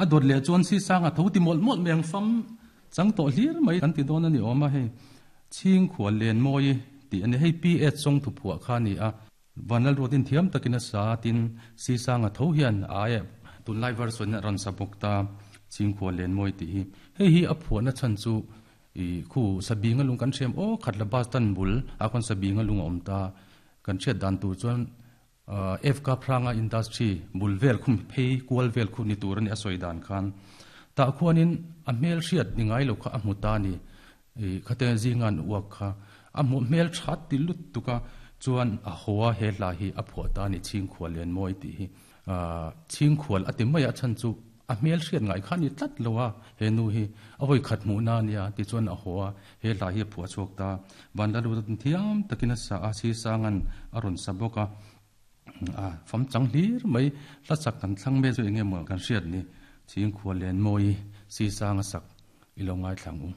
A dawt leh chuan si sanga tho ti mawlh mawlh mai ang fam chang tawh hlir mai kan ti dawn a ni awm a hei. Chhingkhual Lenmawi tih a ni. Hei PH Song thuphuah kha a ni a. Vanlalruatin thiam takin a sa tin si sanga tho hian a aia tunlai version a rawn sa bawk ta Chhingkhual Lenmawi tih hi. Hei hi a phuahna chhan chu i khu Sabinga lung kan hriam aw khat la bus stand bul ah khawn Sabinga lung a awm ta. Kan hriat dan tur chuan FK Phranga Industry bul vel khum phei kual vel khu ni tur a ni a sawi dan khan. Tah khuanin a hmel hriat ni ngai lo kha a hmu ta a ni. I khate zinga an uak kha a hmuh hmel tha ti lut tuk a, chuan a haw a he hla hi a phuah ta a ni Chhingkhual Lianmawi tih hi. Chhingkhual a ti mai a chhan chu a hmel hriat ngai kha a ni tlat lo a, he nu hi a vawi khat hmuhna a nia tichuan a haw a, he hla hi a phuah chhuak ta. Vanlalruta thiam takin a sa a, Sisanga'n a rawn sa bawk a, a fam chang hlir mai, hla sak kan thlang mek chu eng nge maw kan hriat ni, Chhingkhual Lianmawi Sisanga sak i lo ngaithla ang u.